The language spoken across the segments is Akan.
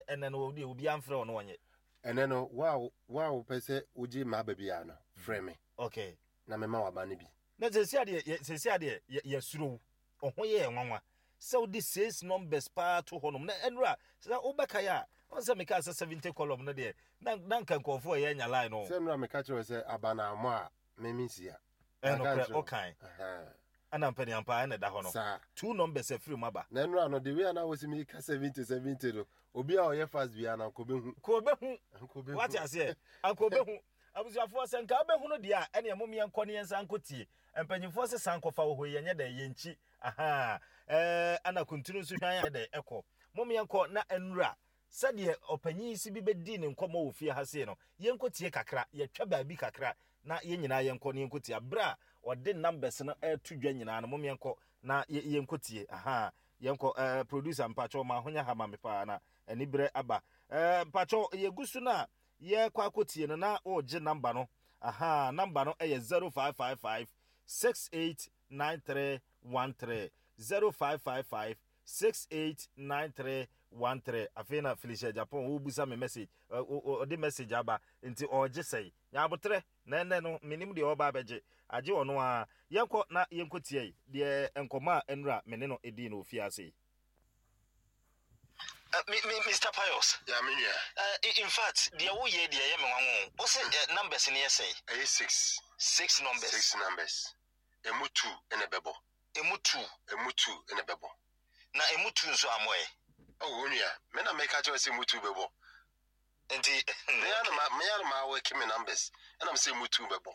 Ɛnɛ no deɛ obiara mfrɛ wo na ɔnyɛ. Ɛnɛ no, wo a wo a wopɛ sɛ wogye m'aba biara no, frɛ me. Okay. Na mema w'aba no bi. Na sɛsi adeɛ yɛ sɛsi adeɛ yɛ yɛsuro wo. Ɔho yɛ yɛn nwanwa sɛ wode six numbers paa to hɔnom na ɛnura sɛ wobɛkae a ɔn sɛ mekaa sɛ 70 column no deɛ na na nka nkurɔfoɔ ɛyɛ anya line no. Sɛ nnora meka kyerɛ wo sɛ aba no ammɔ a me mensi a. Ɛnokorɛ wokae. Ɛna mpaniampa ɛna ɛda hɔ no. Saa. Two numbers afiri mu aba. Na nnora no the way a na wosi meka 70 70 no obi a ɔyɛ fast biara no anka ɔbɛhu. Nka ɔbɛhu. Anka ɔbɛhu. Wate aseɛ? Anka ɔbɛhu. Abusuafoɔ sɛ nka wobɛhunu deɛ a ɛneɛ mom yɛnkɔ ne yɛnsan nkɔ tie. Mpanyinfoɔ se san kɔfa wɔ hɔ yi ɛnyɛ dɛ yɛnkyi ahaa ɛɛ ana kuntunu nso hwan ayɛ dɛ ɛkɔ. Mom yɛnkɔ na nwura sɛdeɛ ɔpanyin yi si bi bɛdii ne nkɔmmɔ wɔ fie ha sei no yɛnkɔ tie kakra yɛtwa baabi kakra na yɛn nyinaa yɛnkɔ na yɛnkɔ tie aberɛ a ɔde numbers no ɛreto dwa nyinaa no mom yɛnkɔ na yɛnkɔ tie ahaa yɛnkɔ ɛɛ producer mpakyɛw ma ahonya ha ma me paa na anibrɛ aba ɛɛ mpakyɛw yɛgu so no a Yɛkɔ akɔtie no na ɔregye number no. Ahaa, number no yɛ 0555 689313. 0555 689313. Afei na Felicia Japan wobusa me message, ɔde message aba nti ɔregye sɛe. Nyabotrɛ, na ɛnɛ no menim deɛ ɔreba abɛgye. Agye ɔno ara. Yɛnkɔ na yɛnkɔtie yi deɛ nkɔmmɔ a ɛnura me ne no dii no wɔ fie ase yi. Me, me, Mr. Pius. Yeah, me nua. In fact, deɛ woyɛ deɛ ɛyɛ me nwanwa o. Wo se numbers no yɛ sɛn? Ɛyɛ six. Six numbers. Six numbers. Emu two na ɛbɛbɔ. Emu two. Emu two na ɛbɛbɔ. Na emu two nso ammɔ ɛ? Oh, wo nua, me na meka kyerɛ sɛ emu two bɛbɔ. Nti me ara na me ara na ma work me numbers ɛna me sɛ emu two bɛbɔ.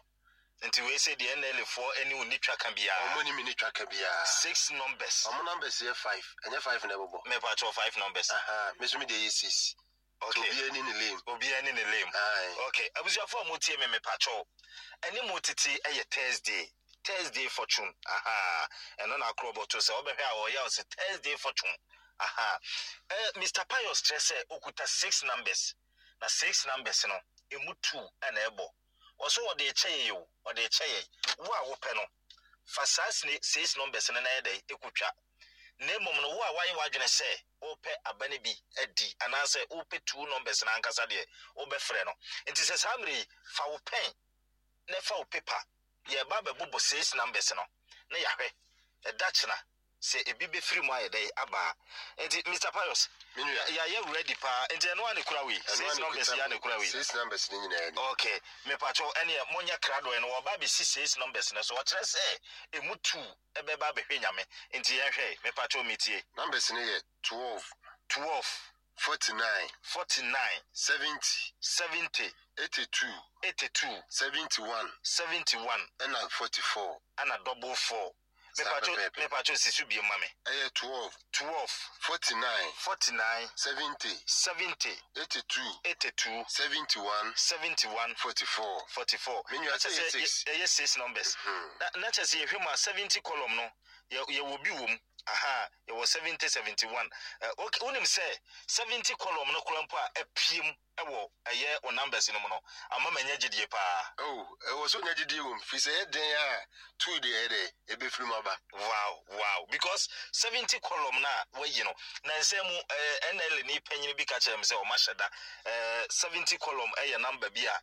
Nti wei sɛ deɛ NLA foɔ ɛne wo ni twa ka biara. Ɔmo ne me ni twa ka biara. Six numbers. Ɔmo numbers yɛ five, ɛnyɛ five na ɛbɛbɔ. Me pa kyɛw, five numbers. Aha, me nso me deɛ yɛ six. Okay. Obiara ni ne lane. Obiara ni ne lane. Aye. Okay, abusuafoɔ a mo tie me, me pa kyɛw. Ɛne mo tete ɛyɛ Thursday. Thursday fortune. Aha, ɛno na akorɔ bɔto sɛ ɔbɛhwɛ a ɔyɛ ɔsɛ Thursday fortune. Aha. Eh, Mr. Pius kyerɛ sɛ okuta six numbers. Na six numbers no, emu two ɛna ɛbɔ. Ɔso ɔde rekyɛ yɛn o, ɔde rekyɛ yɛn. Wo a wopɛ no, fa saa six numbers no na yɛ dɛn? Kotwa. Na mmom no, wo a woayɛ w'adwene sɛ wopɛ aba no bi adi anaasɛ wopɛ two numbers no ankasa deɛ, wobɛfrɛ no. Nti sɛ saa mmerɛ yi, fa wo pɛn na fa wo paper, yɛreba abɛbobɔ six numbers no na yɛahwɛ ɛda kyena sɛ ebi bɛfiri mu ayɛ dɛn aba a. Nti Mister Pius, Me nua. yɛayɛ ready paa, nti ɛno ara na ɛkura wei, Ɛno ara six na numbers ɛkuta yi ara na me. ɛkura wei. Six numbers no nyinaa ni. Ok, mepakyɛw ɛneɛ monyɛ krado ɛno wɔba abɛsi six numbers no so, ɔkyerɛ sɛ ɛmu two ɛbɛba abɛhwɛ Nyame, nti yɛnhwɛ, mepakyɛw metie. Numbers no yɛ 12. 12. 49. 49. 70. 70. 82. 82. 71. 71. Ɛna 44. Ɛna double four. Saa Mepatwo pɛpɛɛpɛ. Mepatwo si so biem ma me. Ɛyɛ 12. 12. 49. 49. 70. 70. 82. 82. 71. 71. 44. 44. Me nua, Na kyerɛ sɛ ɛyɛ sɛ six. ɛyɛ six numbers. Na kyerɛ sɛ yɛhwɛ mu a 70 column no yɛwɔ bi wɔ mu. Aha, yɛwɔ 70 71. Okay, wonim sɛ 70 column no koraa mpo a apue mu wɔ ɛyɛ wo numbers no mu no ama manya gyidie paa. Oh, ɛwɔ sɛ onya gyidie wɔ mu, firi sɛ ɛyɛ den a two deɛ ɛyɛ dɛ ɛbɛfiri mu aba. Wow, because 70 column no a wayi no, na nsɛm mu NLA ni panyin bi ka kyerɛ me sɛ ɔma hyɛ da 70 column ɛyɛ number bi a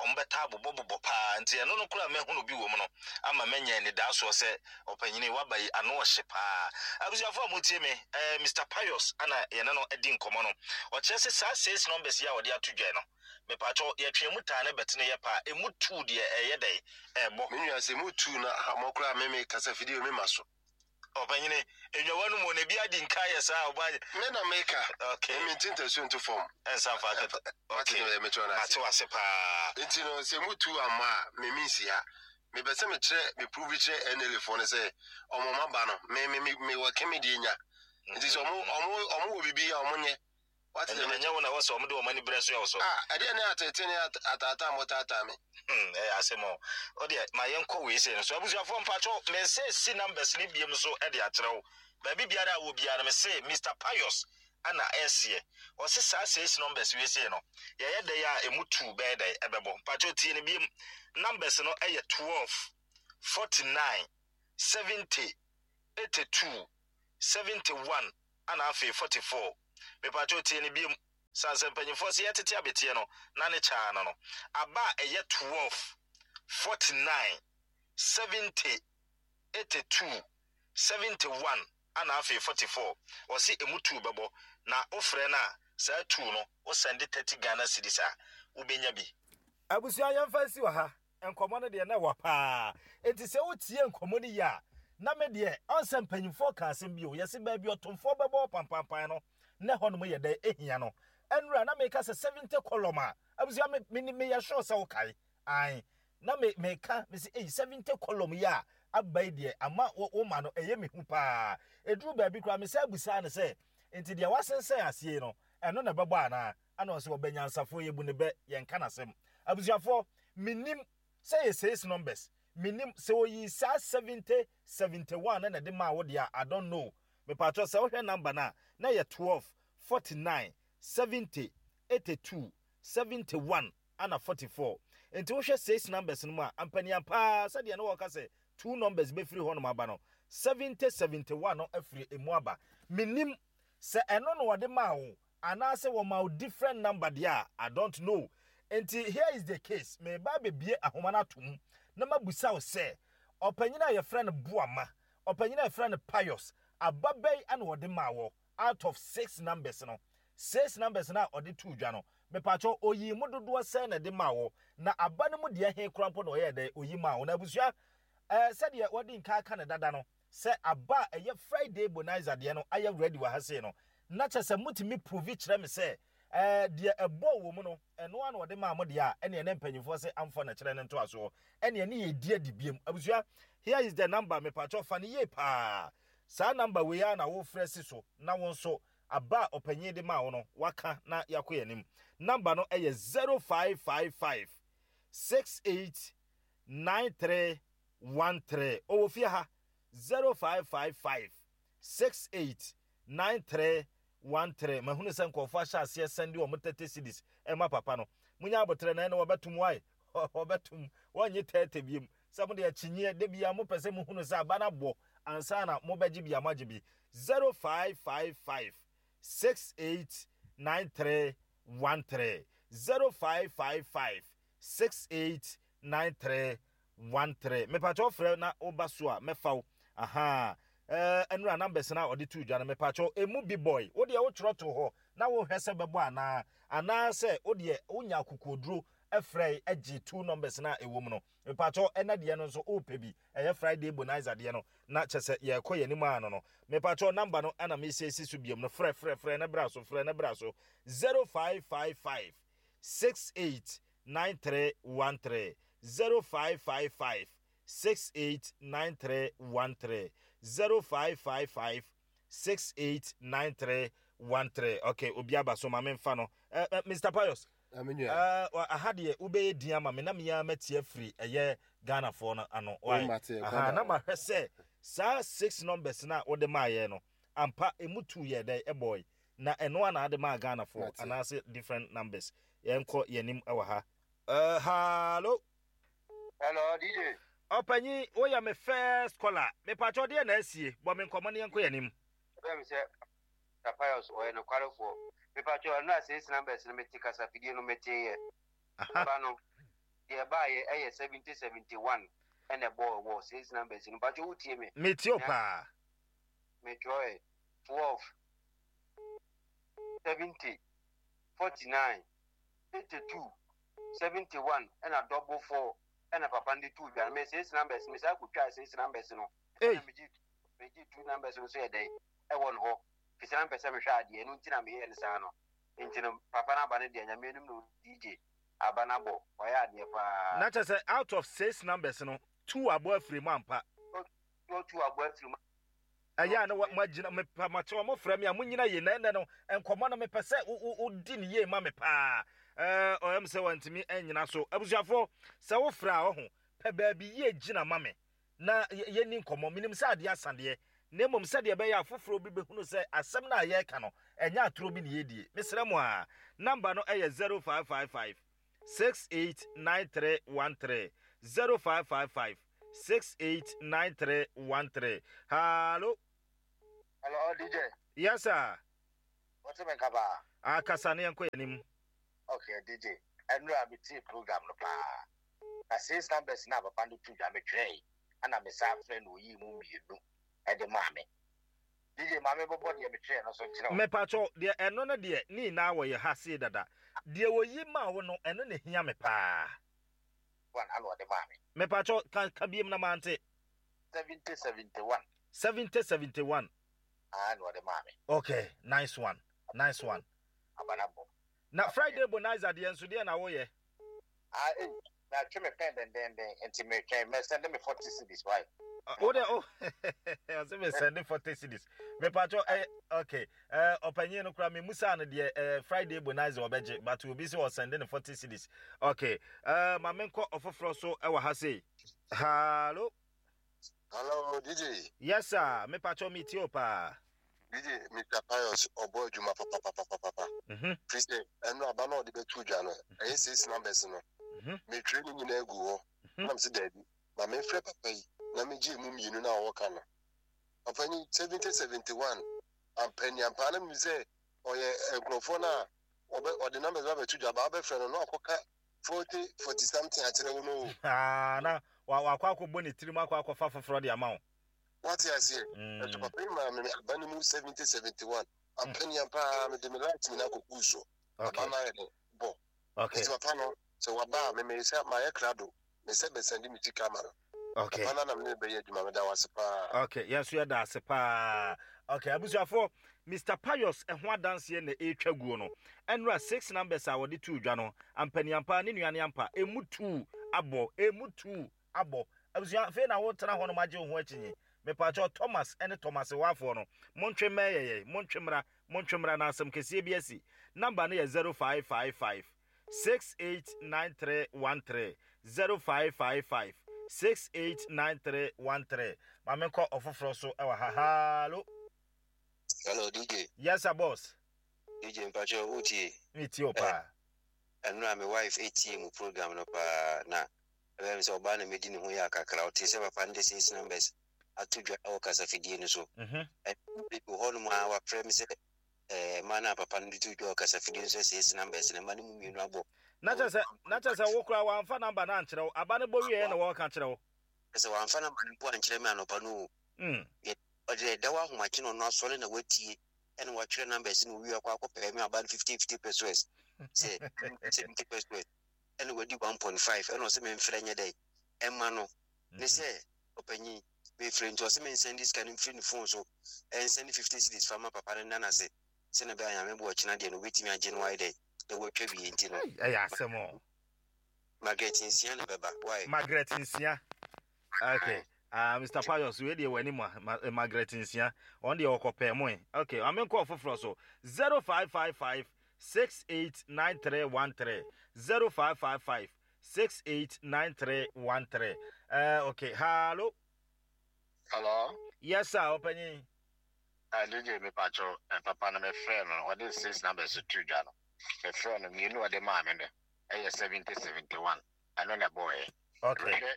ɔmo bɛtaa bobɔbobɔ paa, nti ɛno no koraa mahunu bi wɔ mu no ama manya anidaasoɔ sɛ ɔpanyini waba yi ano ɔhye paa. Abusuafo a motie me, Mr. Pius ana yɛne no adi nkɔmmɔ no, ɔkyerɛ sɛ saa six numbers yi a ɔde ato dwa no, mepatwɔ yɛtwe mu taa ne bɛtene yɛ paa, emu two deɛ ɛyɛ dɛn ɛbɔ. Me nua, sɛ emu two na ahammɔ koraa me me kasa fidie me ma so. Ɔpanyini, enwawa no mu na ebi adi nka yɛ saa ɔba. Me na meka. Okay. Me nti ntasuo nto fam. Ɛnsa fa kɛtɛ. Okay. Mate wase paa. Nti no sɛ emu two amma a me me nsi ha. Mepɛ sɛ mekyerɛ me prove kyerɛ NLA foɔ no sɛ ɔmo ɔmo aba no me me me me wɔ keme deɛ nya. Nti sɛ ɔmo wɔ biribi a ɔmo nyɛ. Wate deɛ Ɛnyɛ wo na ɛwɔ sɛ ɔmo de ɔmo ani brɛ so yɛ wo so. Ah, ɛdeɛ ne atete ne ataataa mo taataa me. Ɛyɛ asɛm o. O deɛ ma yɛnkɔ wei sei no so. Abusuafoɔ mpakyɛw, me nsa esi numbers no biem so de akyerɛ wo. Baabi biara a wɔ biara no me se Mister Pius ana ɛseɛ. Ɔse saa six numbers wei sei no, yɛyɛ dɛn a emu two bɛyɛ dɛn ɛbɛbɔ. Mpakyɛw tie no biem. Numbers no ɛyɛ 12, 49, 70, 82, 71 ana afei 44. Mepakyɛw tie no biem. Sane sɛ mpanyimfoɔ se yɛtete abeteɛ no na ne kyaa no no, aba a ɛyɛ 12, 49, 70, 82, 71 ana afei 44. Ɔse emu two bɛbɔ na wofrɛ no a saa two no wo sɛnde 30 Ghana cedis a wobɛnya bi. Abusua yɛmfa nsi wɔ ha, nkɔmmɔ no deɛ na ɛwa paa, enti sɛ wotie nkɔmmɔ no yie a, na me deɛ ɔnsɛ mpanyimfoɔ ka asɛm bi o, yɛse baabi ɔtomfoɔ bɛbɔ pampampan no na ɛhɔnom yɛ dɛn ɛhia no. Ɛnora na meka sɛ 70 column a, abusua me, me, meyɛ sure sɛ wokae, ae, na me, meka, mese ei 70 column yi a aba yi deɛ ama wo, wo ma no ɛyɛ me hu paa. Ɛduru baabi koraa mesan bisaa no sɛ, nti deɛ wasensɛn aseɛ yi no, ɛno na ɛbɛbɔ anaa? Ɛna ɔse ɔbɛ nyansafoɔ yɛbu ne bɛ yɛnka n'asɛm. Abusuafoɔ mennim sɛ yɛ sales numbers mennim sɛ ɔyii saa 70 71 no na ɛde maa wo deɛ a I don't know. Mepakyɛw sɛ wohwɛ number no a na ɛyɛ 12 49 70 82 71 ana 44. Nti wohwɛ sales numbers no mu a ampaniampa ara sɛdeɛ na wɔka sɛ two numbers bɛfiri hɔnom aba no 70 71 no afiri ɛmu aba. Mennim sɛ ɛno na ɔde maa wo Anaasɛ wɔma wo different number deɛ a, I don't know. Nti here is the case, mereba abɛbue ahoma no ato mu na mabusa wo sɛ, ɔpanyin a yɛfrɛ no Boama, ɔpanyin a yɛfrɛ no Pius, aba bɛn na ɔde maa wɔ out of six numbers no? Six numbers no a ɔde too dwa no, mepakyɛw oyii mu dodoɔ sɛn na ɛde maa wɔ? Na aba no mu deɛ he koraa mpo na ɔyɛɛ dɛn oyi maa wo? Na abusua, eh, sɛdeɛ wɔadi nka aka no dada no, sɛ aba a ɛyɛ Friday Bonanza deɛ no ayɛ ready wɔ ha sei no, na kyerɛ sɛ motumi prove kyerɛ me sɛ ɛɛ deɛ ɛbɔɔ wɔ mu no, ɛno ara na ɔde maa mo deɛ a, ɛneɛ na mpanyinfoɔ se amfa na kyerɛ no ntoasoɔ, ɛneɛ ne yɛdi adi biam. Abusua, here is the number, mepakyɛw fa no yie paa. Saa number wei ara na wofrɛ si so na wo nso aba a ɔpanyin de maa wo no waka na yɛakɔ yɛn anim. Number no ɛyɛ 0555 68 93 13 ɔwɔ fie ha 0555 68 93 13 mahunu sɛ nkurɔfoɔ ahyɛ aseɛ sɛnde wɔn 30 cedis ɛma papa no munya abotrɛ na ɛne wɔbɛtom wae wɔbɛtom wɔnnye 30 biem sɛ mo deɛ kyinyeɛ da bia mopɛ sɛ mohunu sɛ aba no abɔ ansa na mobɛgye bi a moagye bi 0555 68 93 13 0555 68 93 13 mepakyɛw frɛ na woba so a mɛfa wo ahaa ɛɛ ɛnura numbers na ɔde to dwa no mepakyɛw emu bi boy wo deɛ wotwerɛ to hɔ na wohwɛ sɛ bɛbɔ anaa anaasɛ wo deɛ wonya akokoɔduro ɛfrɛ ɛgye two numbers na ɛwɔ mu no mepakyɛw ɛna deɛ no nso wopɛ bi ɛyɛ Friday bonanza deɛ no na kyɛ sɛ yɛkɔ yɛn anim ano no mepakyɛw number no ɛna mesiesie so biom no frɛ frɛ frɛ na bra so frɛ na bra so 0555 68 9313 0555 68 9313 0555 68 9313 okay obi aba so ma memfa no uh, uh, Mr. Pius uh, aha deɛ wobɛyɛ din ama me na mea mati afiri ɛyɛ Ghanafoɔ no ano why aha na mahwɛ sɛ saa six numbers no a wode maayɛ no ampa ɛmu tu yɛ dɛn ɛbɔe Na ɛno a na ade maa Ghana foɔ anaase different numbers. Yɛn kɔ yɛn anim wɔ ha. Uh, hallo. Hello, DJ. Ɔpanyin, woyɛ me first caller. Mepakyɛ ɔdeɛ na asie. Bɔ me nkɔmmɔ ne yɛn kɔ yɛn anim. Ɛbɛn mi sɛ Pastor Pius ɔyɛ nokwarefoɔ. Mepakyɛ ɛno a six numbers no mete kasafidie no metee yɛ. Aba no deɛ ɛbaayɛ ɛyɛ 70 71 ɛna ɛbɔɔ wɔ six numbers no. Mepakyɛ wotie me? Metie o paa. Metwerɛɛ 12 70 49 82 71 ɛna double four ɛna papa no de too dwa no. Me six numbers me saa kotwaa six numbers no ɛna megye two numbers no so yɛ dɛn ɛwɔ no hɔ fisɛ na mpɛ sɛ mehwɛ adeɛ ɛno nti na meyɛɛ no saa no. Nti no papa no aba no deɛ Nyame anim no DJ aba no abɔ wayɛ adeɛ paa. Na kyerɛ sɛ out of six numbers no two abɔ afiri mu ampa. Two abɔ afiri mu. Ɛyɛ a na moagyina mepa makyɛ wɔn frɛ me a monyina yie na ɛnɛ no nkɔmmɔ no mepɛ sɛ wodi ne yie ma me paa. Ɛɛ ɔyɛ me sɛ wantumi anyina so. Abusuafoɔ sɛ wofrɛ a ɔho pɛ baabi yie gyina ma me na yɛnni nkɔmmɔ. Menim sɛ adeɛ asa deɛ na mmom sɛdeɛ ɛbɛyɛ a foforɔ bi bɛhunu sɛ asɛm no a yɛreka no ɛnyɛ atorɔ bi na yɛredie. Mesrɛ mo a number no ɛyɛ 0555 689313 0555 689313 Hallo. Hello, DJ. Yes, sir. What's me nka paa? Ah, kasa na yɛnkɔ yɛn anim. Okay, DJ. Ɛnora a metie program no paa. Na six numbers na papa no to dwa metwerɛe. Ɛna me san frɛ no oyii mu mmienu ɛde maa me. DJ ma me bɔbɔ deɛ metwerɛɛ no so nkyerɛ wo. Mepakyɛw, deɛ ɛno no deɛ ne nyinaa wɔ yɛ ha sei dada. Deɛ oyi maa wo no ɛno na ehia me paa. One ɛna ɔde maa me. Mepakyɛw, ka ka biem na mante. 70 71. 70 71. Ah, na ɔde maa me. Okay, nice one, nice one. Aba na bɔ. Na Friday Bonaiza deɛ nso deɛ na woyɛ? Ah, eh, na atwe me pɛn dendenden nti metwɛn mɛ send me 40 cedis why? Wo de oh, ɔsɛ me send 40 cedis. Me pacho eh okay. Eh ɔpanyin no kura me musa no deɛ eh Friday Bonaiza ɔbɛgye but obi sɛ ɔsend ne 40 cedis. Okay. Eh ma menkɔ ɔfoforɔ so ɛwɔ ha sei. Hello. Hello, DJ. Yes, sir. Me pacho me tie o paa. DJ, Mr. Pius, ɔbɔ adwuma papapapapapa. Firi sɛ, ɛno aba na ɔde bɛto dwa no, ɛyɛ six numbers no. Metwerɛ ne nyinaa gu hɔ. Na mese daabi, ma memfrɛ papa yi na megye emu mmienu no a ɔwɔ no. Papa ni 70 71 ampani ampa na menim sɛ ɔyɛ nkurɔfoɔ no a ɔde numbers ba bɛto dwa ba wobɛfrɛ no na wakɔka 40 40 something akyerɛ wo no o. Ah, na wakɔ akɔbɔ ne tirim akɔ akɔfa foforɔ de ama wo. Wate aseɛ? Ɛso mm. papa yi maa me aba no mu 70 71 ampani paa mede me light nyinaa kɔguu so. Aba no ayɛ dɛ bɔ. Okay. Nti papa no sɛ waba a meme sɛ mayɛ krado me sɛ bɛsɛnde me sika ama no. Okay. Papa no na mene bɛyɛ adwuma meda wo ase paa. Okay, yɛn nso yɛda ase paa. Okay, abusuafoɔ, Mr. Pius ɛho adanseɛ na ɛretwa guo no. Ɛnora six numbers a wɔde too dwa no, ampaniampa ne nua ne ampa, emu tuu abɔ, emu tuu abɔ. Abusua, afei na wotena hɔ no magye wo ho akyinyi. Mepaakyɛw Thomas ne Thomas Wafoɔ no, montwe mmɛn yɛyɛ, montwe mmra, montwe mmra na asɛm kɛseɛ bi asi. Number no yɛ 0555 689313 0555 689313 Ma menkɔ ɔfoforɔ so wɔ ha. Hallo. Hello DJ. Yes sir boss. DJ mpakyɛ wotie? Metie wo paa. Ɛnora me wife etie mu program no paa na ɛbɛyɛ me sɛ ɔbaa na medi ne ho yɛ akakra ɔte sɛ papa no de six numbers ato dwa wɔ kasafidie no so. Ɛbi wɔ hɔnom a wafrɛ me sɛ Eh, mma no a papa no de to dwa wɔ kasafidie no so sɛ six numbers no, mma no mu mmienu abɔ. Na kyerɛ sɛ, na kyerɛ sɛ wo koraa wɔamfa number no ankyerɛ wo, aba no bɔ wieɛ na wɔreka kyerɛ wo. Kyerɛ sɛ wɔamfa number no mpo ankyerɛ me anɔpa no o. Yɛ, ɔde ɛda hɔ ahomakye na ɔno asɔre na watie ɛna watwerɛ numbers no owie akɔ akɔpɛɛ me aba no 50 50 pesos sɛ 70 pesos ɛna wadi 1.5 ɛna ɔsɛ memfrɛ nyɛ dɛn ɛma no ne sɛ ɔpanyin mefrɛ nti ɔse mensɛnde sika no mfiri ne phone so ɛnsɛnde 50 cedis fa ma papa no nna no ase sɛnea ɛbɛyɛ a Nyame boa ɔkyena deɛ no obɛtumi agye no wayɛ dɛn na watwa wie nti no Ɛyɛ asɛm o. Margaret Nsia na ɛbɛba why? Margaret Nsia okay ah Mr Pius wei deɛ w'anim a Ma, eh, Margaret Nsia ɔn deɛ ɔkɔpɛɛ mo eh okay ame nkɔ ɔfoforɔ so 0555 689313 0555 689313 eh okay hallo. Hello. Yes sir ɔpanyin. Ah DJ me pacho eh, papa no me frɛ no ɔde six numbers to dwa no me frɛ no mmienu ɔde maa me no ɛyɛ 70 71 ɛno na ɛbɔɔyɛ. Okay. Mehwɛ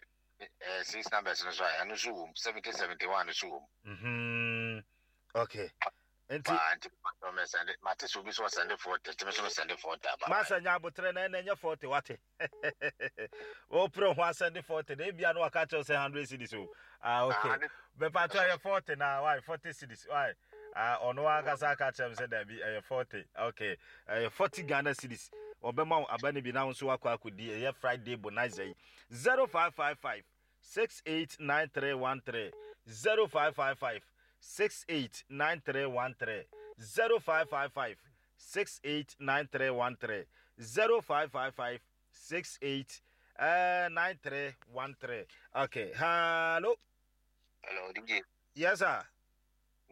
eh, six numbers no so a ɛno nso wɔ mu 70 71 no so wɔ mu. Mhm. Okay. Nti. Paa nti mɛsɛnde mate sɛ obi so ɔsɛnde 40 nti me so mesɛnde 40 aba. Masa nya abotrɛ na ɛna ɛnyɛ 40 wate. Wopere ho asɛnde 40 na ebia no waka kyerɛ sɛ 100 cedis o. Ah okay. Bɛpa kyerɛ yɛ 40 na why 40 cedis why. Ah ɔno ankasa aka kyerɛ me sɛ dabi ɛyɛ 40. Okay. Ɛyɛ 40 Ghana cedis. Ɔbɛma wo aba no bi na wo nso wakɔ akɔdi ɛyɛ Friday bonanza yi. 0555 689313 0555 689313 0555 689313 0555 68 uh, 9313. Okay, hello. Hello, DJ. Yes, sir.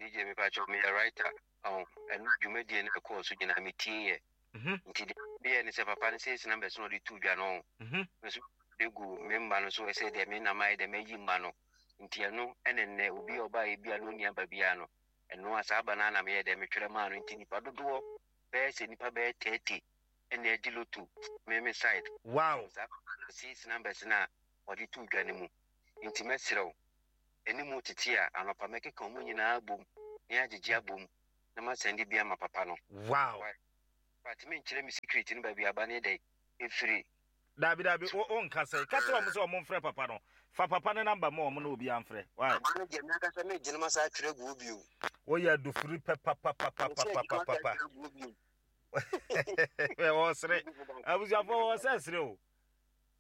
DJ, me pacho me a writer. Oh, and dwumadie no ɛkɔɔ so nyinaa metie yɛ. Nti deɛ meyɛ ne sɛ papa no sɛ ɛsi numbers no ɔde to dwa no. Nso de gu me mma no so ɛsɛ deɛ me nam ayɛ dɛ mayi mma no. Nti ɛno ɛne nnɛ obi a ɔbaeɛ bi a na ɔnni aba biara no Ɛno a saa aba no ara na meyɛɛ dɛn metwerɛ maa no nti nipa dodoɔ bɛyɛ sɛ nipa bɛyɛ 30 ɛna adi loto me me side. Wow. Saa papa no six numbers no a ɔde too dwa no mu nti mɛsrɛ wo ɛne mu tete a anɔpa mɛkeka wɔn nyinaa abom na yɛagyegye abom na masɛnde bi ama papa no. Wow. But menkyerɛ me secret no baabi aba no yɛ dɛn ɛfiri. Daabi daabi wo wo nka sɛ ka kyerɛ wɔn sɛ wɔn mfrɛ papa no fa papa no number ma wɔn na obiara mfrɛ why. Aba no deɛ me ankasa mɛgyina masa atwerɛ agu hɔ bio. Woyɛ adufiri pɛ papapapapapapa. Ɔsere abusuafoɔ wɔ sɛ sere o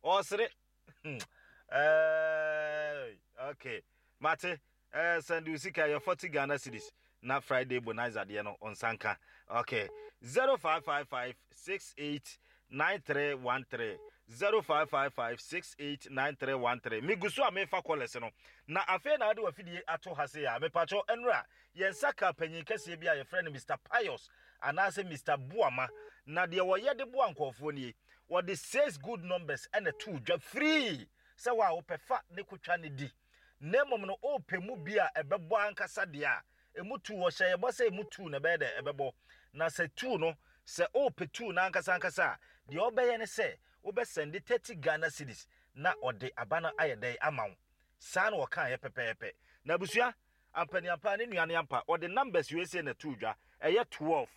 ɔsere okay mate. Eh send wo sika ɛyɛ 40 Ghana cedis na Friday bonanza deɛ no wo nsa nka ok 0555 68 9313 0555 68 9313 megu so a mefa kɔlɛs no na afei na wode wafidie ato ha sei a mepakyɛw ɛnora yɛn nsa ka panyin kɛseɛ bi a yɛfrɛ no Mr Pius anaasɛ Mr Boama na deɛ wɔyɛ de boa nkurɔfoɔ nie wɔde six good numbers ɛna too dwa free sɛ wo a wopɛ fa ne kotwa ne di na mmom no worepɛ mu bi a ɛbɛbɔ ankasa deɛ a, emu tuu, wɔhyɛ yɛn bɔ sɛ emu tuu na ɛbɛyɛ dɛ ɛbɛbɔ. Na sɛ tuu no, sɛ worepɛ tuu no ankasa ankasa a, deɛ wobɛyɛ ne sɛ wobɛsɛnde 30 Ghana cedis na ɔde aba no ayɛ dɛn ama wo. Saa na wɔkaeɛ pɛpɛɛpɛ. Na abusua, ampaniampa, ne nua no ampa, ɔde numbers wei sei na ɛtoo dwa, ɛyɛ 12,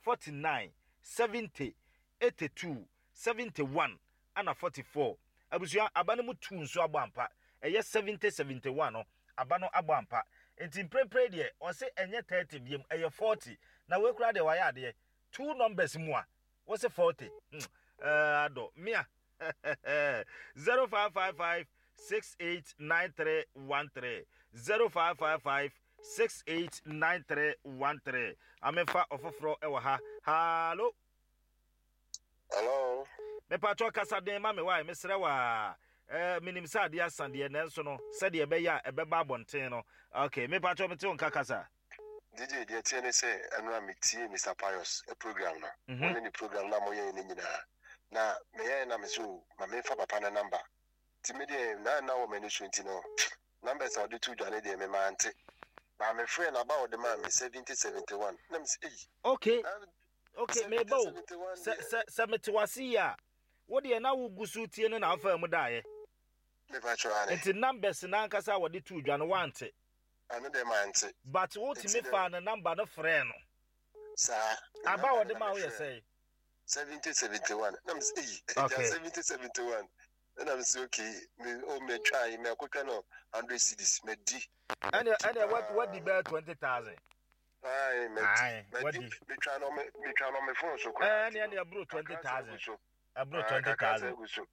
49, 70, 82, 71, Ana 44 abusua aba no mu tuu nso abɔ ampa ɛyɛ 70 71 no aba no abɔ ampa nti mprempren deɛ ɔse ɛnyɛ 30 biom ɛyɛ 40 na wei koraa deɛ wayɛ adeɛ two numbers mu a wose 40 hmm ɛɛ adɔ mia 0555 689313 0555 689313 amefa ɔfoforɔ ɛwɔ ha hallo. Hello. Mepatwɔ kasa den ma me wae mesrɛ waa eh, menim sɛ adeɛ asa deɛ nanso no sɛdeɛ ɛbɛyɛ a ɛbɛba abɔnten no ok mepatwɔ mete wo nka kasa. DJ deɛ ɛteɛ ne sɛ ɛno a metie Mister Pius program no wo ne ne program no a moyɛɛ no nyinaa na meyɛɛ na mese o ma memfa papa no number nti me deɛ na na wɔ m'ani so nti no numbers a ɔde to dwa no deɛ me mante baa mefrɛ no aba a ɔde maa me 70 71 na mese ei Okay. Ok, meba o. Sɛ sɛ sɛ mete wase yi a, wo deɛ na wogu so tie no na wofaa mu daeɛ. Nti numbers no ankasa a wɔde too dwa no woante? Ɛno deɛ mante. But wotumi faa ne number no frɛɛ no? Saa. Aba a wɔde maa wo yɛ sɛn? 70 71. Na mese eyi, agya 70 71. Ɛna mese okay, me o metwa yi, mɛkotwa no 100 cedis, madi. Ɛne ɛne wadi bɛyɛ 20,000. Ayi, madi. Madi. Metwa no me metwa no me phone so koraa. Ɛne ɛne ɛboro 20,000. Ɛboro 20,000. Gu so.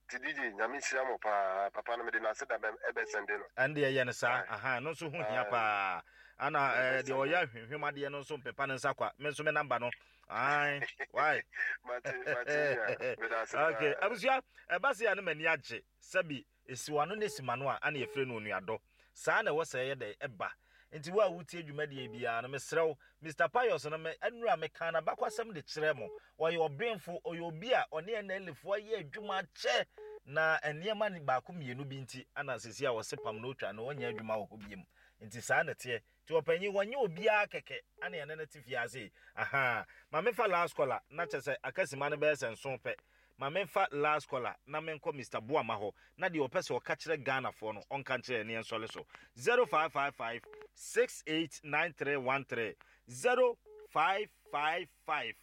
Ti DJ nyame nhyira mo paa. Papa no mede n'ase da ɛbɛ sɛnde no. Ɛnde ɛyɛ no saa. Aha, no nso ho hia paa. Ana ɛɛ deɛ ɔyɛ ahwehwem adeɛ no nso mpepa ne nsa kwa. Me nso me namba no. Ayi, why? Mate, mate nua. Meda ase paa. Okay, abusua, ɛba se a ne m'ani agye. Sɛbi Esi w'ano na esi m'ano a, ana yɛfrɛ no onuadɔ. Saa na ɛwɔ sɛ ɛyɛ dɛn? Ɛba. Nti wo a wotie dwumadie yi biara no, mesrɛ wo, Mister Pius no, me, nnura mekaa n'abakwasɛm de kyerɛɛ mo. Ɔyɛ ɔbenfo, ɔyɛ obi a ɔne NLA foɔ ayɛ adwuma akyɛ, na nneɛma baako mmienu bi nti, ana seesei a wɔse pam na ɔtwa no, ɔnyɛ adwuma wɔ hɔ biom. Nti saa na ɛteɛ. Nti ɔpanyin, wɔnyɛ obiara kɛkɛ ana yɛne no te fie ha sei. Ahaa. Ma memfa last caller, na kyerɛ sɛ aka simma no bɛyɛ sɛ nson pɛ. Ma menfa last caller na menkɔ Mister Boamah hɔ na deɛ ɔpɛ sɛ ɔka kyerɛ Ghanafoɔ no ɔnka nkyerɛ yɛn na yɛnsɔre so. 0555 689313 0555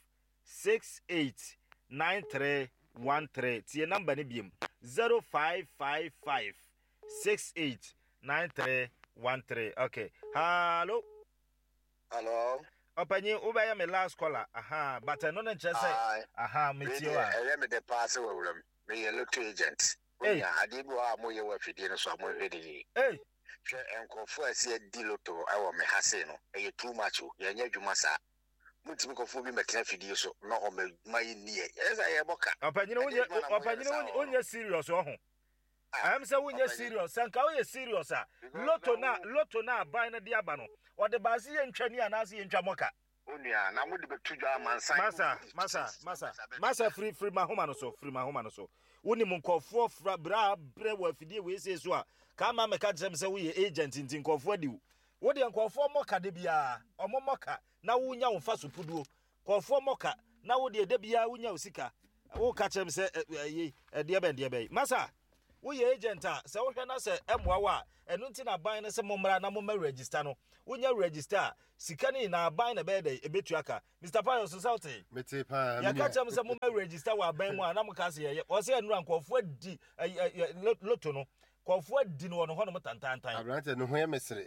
689313 Tie number no biom 0555 689313 Okay. Hallo. Hello. Ɔpanyin, wobɛyɛ me last caller. Aha, but ɛno no nkyerɛ sɛ aha metie wa. Ɛyɛ me dɛ paa sɛ wawura mu. Meyɛ lotto agent. Wonya adeɛ bi wɔ hɔ a moyɛ wɔ afidie no so a monhwɛ no yie. Hwɛ nkurɔfoɔ a ɛsɛ adi lotto wɔ me ha sei no, ɛyɛ too much o. Yɛnyɛ adwuma saa. Montumi nkɔfa obi mmɛtena afidie so na ɔmmɛma yɛnni yɛn. Ɛyɛ sɛ yɛbɔ ka. Ɔpanyin, wonyɛ wonyɛ serious ɔho. Ɛm sɛ wonyɛ serious. Sɛ nka woyɛ serious a, lotto na lotto na aban no de aba no, ɔde baa se yɛntwa ni anaase yɛntwa mɔka. Onua, na mode bɛto dwa amansan. Masa, masa, masa, masa, firi firi mahoma no so, firi mahoma no so. Wonim nkurɔfoɔ fra bra brɛ wɔ afidie wei sei so a, ka ama mɛka kyerɛ me sɛ woyɛ agent nti nkurɔfoɔ adi wo. Wo deɛ nkurɔfoɔ mmɔ ka da biara, ɔmo mmɔ ka na wonya wo mfa so puduo. Nkurɔfoɔ mmɔ ka na wo deɛ da biara wonya wo sika. Woka kyerɛ me sɛ ɛyi ɛdeɛ bɛn deɛ bɛn. Masa. Woyɛ agent a, sɛ wohwɛ na sɛ ɛmmoa wo a, ɛno nti na aban no sɛ mommra na mommɛ register no. Wonya register a, sika no nyinaa aban na ɛbɛyɛ dɛn? Ɛbɛtua ka. Mister Pius, sɛ wotee? Metee paa, me Yɛka nua. kyerɛ mo sɛ mommɛ register wɔ aban mu a, na moka sɛ yɛyɛ. Wɔse ɛnora nkurɔfoɔ adi lotto no, nkurɔfoɔ adi no wɔ no hɔnom tantaantan. Aberanteɛ no ho yɛ me sere.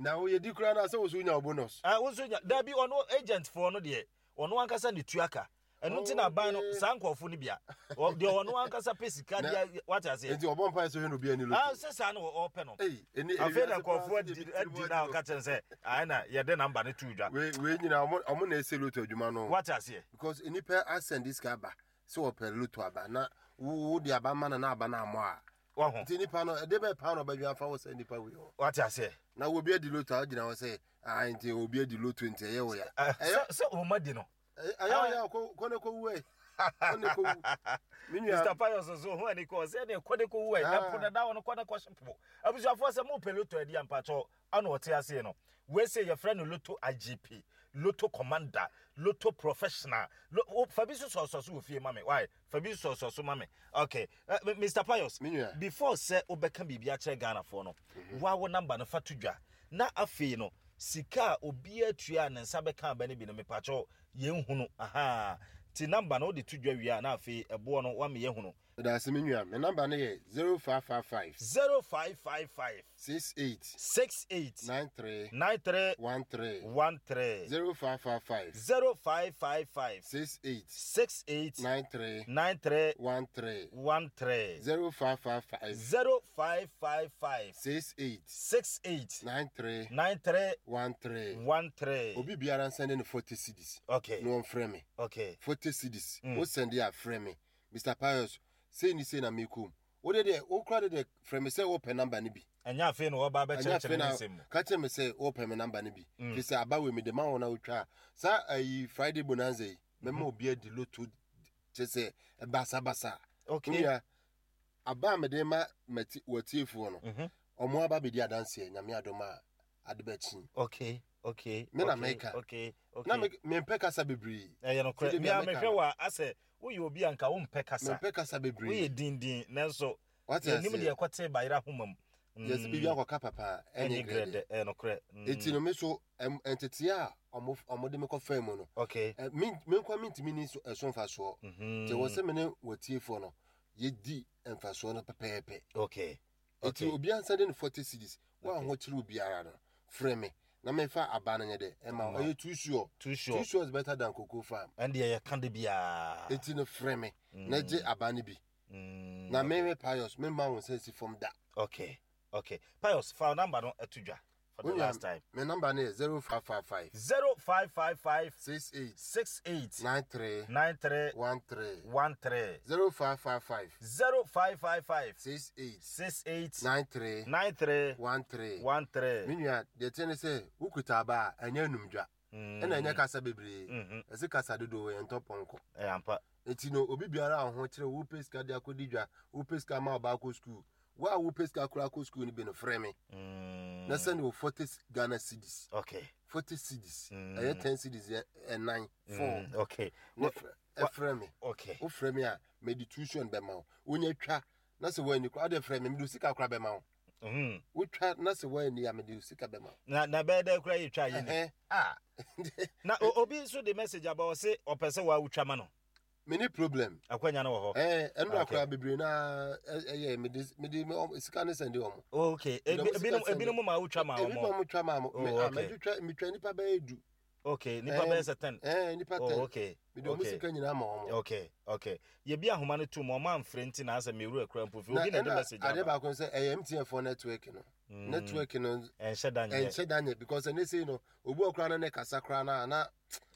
Na wo yɛdi koraa no a, sɛ wo nso wonya wo bonus. Ah, wo nso nya. Dabi, ɔno agent foɔ no deɛ, ɔno ankasa na ɛtua ka. Ɛno nti na aban no saa nkurɔfo no bia deɛ ɔno ankasa pɛ sika deɛ wate aseɛ. Nti ɔbɔ mpae sɛ hwɛ na obi ani loto. Ah sɛ saa na ɔpɛ no. Afei na nkurɔfo adi adi na ɔka kyerɛ sɛ ayɛ na yɛde namba no to dwa. Wei wei nyina ɔmo ɔmo na ɛsɛ loto adwuma no. Wate aseɛ. Because nnipa asɛnde sika aba sɛ ɔpɛ loto aba na wo de aba ma no na aba no ammɔ a. Waho. Nti nipa no ɛde bɛ paa na ɔbɛdwen afa wo sɛ nipa wei hɔ. Wate aseɛ. Na obi adi loto a ɔgyina hɔ sɛ ah nti obi adi loto nti ɛyɛ wo ya. Sɛ sɛ ɔma di no. Ɛyɛ ɔyɛ kɔ kɔ ne kɔ wu ɛ. Kɔ ne kɔ wu. Me nua. Mr. Pius nso ho ani kɔ sɛ ne kɔ ne kɔ wu ɛ. Ɛpo na da hɔ no kɔ ne kɔ hye po. Abusuafoɔ sɛ mo pɛ loto adi ampakyɛw ana ɔte aseɛ no. Wei sɛ yɛfrɛ no loto IGP, loto commander, loto professional. Lo, fa bi so sɔsɔ so wɔ fie ma me. Why? Fa bi sɔsɔ so ma me. Okay. Uh, eh, Mr. Pius, before sɛ wobɛka biribi akyerɛ Ghanafoɔ no, mm -hmm. wa wo number no fa to dwa. Na afei no, sika a obiara tua a ne nsa bɛka aba no bi no, mepakyɛw, yɛnhunu. Ahaa. Nti number no wode to dwa wie a, na afei ɛboɔ no woama yɛahunu. Medase me nua, me number no yɛ 0555. 0555. 68. 68. 93. 93. 13. 13. 0555. 0555. 68. 68. 93. 93. 13. 13. 0555. 0555. 68. 68. 93. 93. 13. 13. Obi biara nsɛnde no 40 cedis. Okay. Na ɔmfrɛ me. Okay. 40 cedis. Wo sɛnde a frɛ me. Mister Pius, sei ne sei na mekɔ mu. Wo de deɛ, wo koraa de deɛ, frɛ me sɛ wopɛ number no bi. Ɛnyɛ afei na wɔba Ɛnyɛ abɛkyerɛkyerɛ afei ne na nsɛm mu. ka kyerɛ me sɛ wopɛ me number no bi. Firi sɛ aba wei mede ma wo na wotwa a. Saa ayi Friday bonanza yi, mɛma obi adi loto kyerɛ sɛ basabasa. Okay. Wo nua, aba a mede ma mati w'atiefoɔ no, wɔn aba bɛdi adanseɛ, Nyame adom a ade bɛkye. Okay, okay. Me na okay, meka. Okay, okay. Na me mempɛ kasa bebree. Ɛyɛ nokorɛ. Sɛdeɛ Me a bia meka mehwɛ no. wo a, asɛ woyɛ obi a nka wompɛ kasa. Mempɛ kasa bebree. Woyɛ dindin nanso Wate yɛnim aseɛ? deɛ ɛkɔtee bayerɛ ahoma mu. Yɛsɛ biribi akɔka papa a ɛnyɛ Ɛnyɛ grɛdɛ. grɛdɛ, ɛyɛ nokorɛ. Eti no me so nteteɛ a ɔmo ɔmo de me kɔfaa mu no, Okay. me me nkoa mentumi ni so ɛso mfasoɔ. Nti ɛwɔ sɛ me ne w'atiefoɔ no yɛdi mfasoɔ no pɛpɛɛpɛ. Okay. Eti Okay. obiara nsa de no 40 cedis. Wo a Okay. ho kyerɛ obiara no, frɛ me na memfa aba no nyɛ dɛ ɛma wo. Ɛma wo. Ɛyɛ too sure. Too sure. Too sure is better than cocoa farm. Ɛndeɛ yɛka da biara. Eti no frɛ me na gye aba no bi. Na me me Pius, memma wo nsa nsi fam da. Okay. Okay. Pius, fa wo number no to dwa for the Wo nua, last time. me number no yɛ 0555. 0555. 68. 68. 93. 93. 13. 13. 0555. 0555. 68. 68. 93. 93. 13. 13. Me nua, deɛ ɛteɛ ne sɛ, wokuta aba a, ɛnyɛ anumdwa. Ɛna ɛnyɛ kasa bebree. Ɛse kasa dodoɔ yɛntɔ pɔnkɔ. Ɛyɛ ampa. Enti no, obi biara a wo ho kyere wo, wopɛ sika de akɔdi dwa, wopɛ sika ma wo ba akɔ sukuu, wo a wopɛ sika koraa akɔ sukuu no bi no, frɛ me na sɛne wo 40 Ghana cedis. Okay. 40 cedis. Ɛyɛ 10 cedis yɛ ɛnan, four. Okay. Ne frɛ me. Okay. Wofrɛ me a, mede tuition bɛma wo. Wonya twa na sɛ woanni koraa, wode frɛ me, mede wo sika koraa bɛma wo. Wotwa na sɛ woanni a, mede wo sika bɛma wo. Na na bɛyɛ dɛ koraa yɛtwa yɛ ni. Ah. Na obi nso de message aba ɔse ɔpɛ sɛ wa wotwa ma no. Me ni problem. Akwanya no wɔ hɔ. Eh, ɛno na koraa bebree na ɛyɛ me de me de sika ne sɛnde wɔn. Okay. Ebinom ebinom ma wotwa ma wɔn. Ebi ma wɔn twa ma wɔn. Oh, okay. Me twa me twa nipa bɛyɛ du. Okay, nipa bɛyɛ sɛ 10. Eh, nipa 10. Oh, okay. Me de wɔn sika nyinaa ma wɔn. Okay, okay. Yɛ bi ahoma no tum wɔn amfrɛ nti na asɛ me wura kura mpo fi obi na de message aba. Ade baako sɛ ɛyɛ MTN for network no. Network no ɛnhyɛ da nyɛ. Ɛnhyɛ da nyɛ because ɛne sei no obi wɔ koraa na ne kasa koraa na na.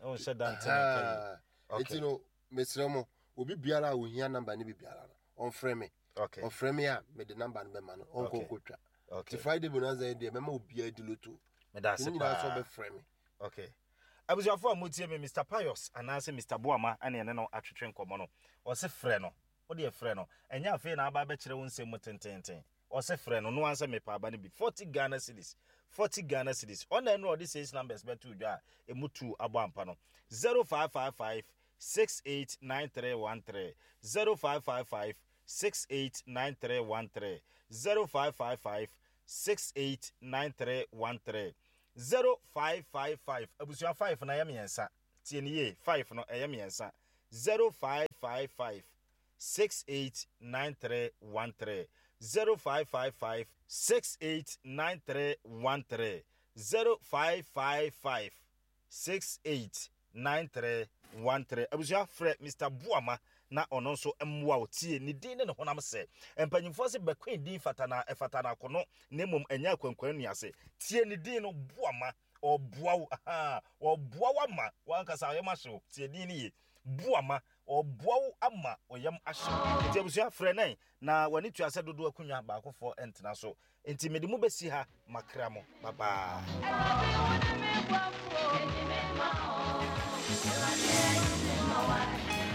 Ɔnhyɛ da ntɛn. Okay. Eti no mesrɛ mo obi biara a ohia number no bi biara no ɔmfrɛ me. Okay. Ɔfrɛ me a mede number no bɛma no ɔnkɔ nkɔtwa. Okay. Ti Friday bonanza yi deɛ mɛma obiara di loto. Meda ase paa. Ne nyinaa nso ɔbɛfrɛ me. Okay. Abusuafo a motie me Mr. Pius anaasɛ Mr. Boama ɛne ɛne no atwetwe nkɔmmɔ no. Ɔse frɛ no. Wo deɛ frɛ no. Ɛnyɛ afei na aba abɛkyerɛ wo nsɛm mu tententen. Ɔse frɛ no, no ara sɛ mepɛ aba no bi. 40 Ghana cedis. 40 Ghana cedis. Ɔna ɛno a ɔde six numbers bɛtoo dwa a emu two abɔ ampa no. 0555 689313. 0555 689313, 0555 689313, 0555, abusua 5 no ɛyɛ mmiɛnsa, tie no yie, 5 no ɛyɛ mmiɛnsa, 0555 689313, 0555 689313, 0555 689313. Abusua frɛ Mister Boama na ɔno nso mmoa wo. Tie ne din ne ne honam sɛ. Mpanyimfoɔ se bɛkwen din fata na ɛfata no akono na mmom ɛnyɛ akwankwan nnuase. Tie ne din no, Boama. Ɔboa wo, ahaa, ɔboa wo ama w'ankasa ɔyam ahye wo. Tie din no yie. Boama, ɔboa wo ama ɔyam ahye wo. Nti abusua frɛ nɛn na w'ani tua sɛ dodoɔ akonnwa baakofoɔ ntena so. Nti mede mo bɛsi ha makra mo. Bye bye.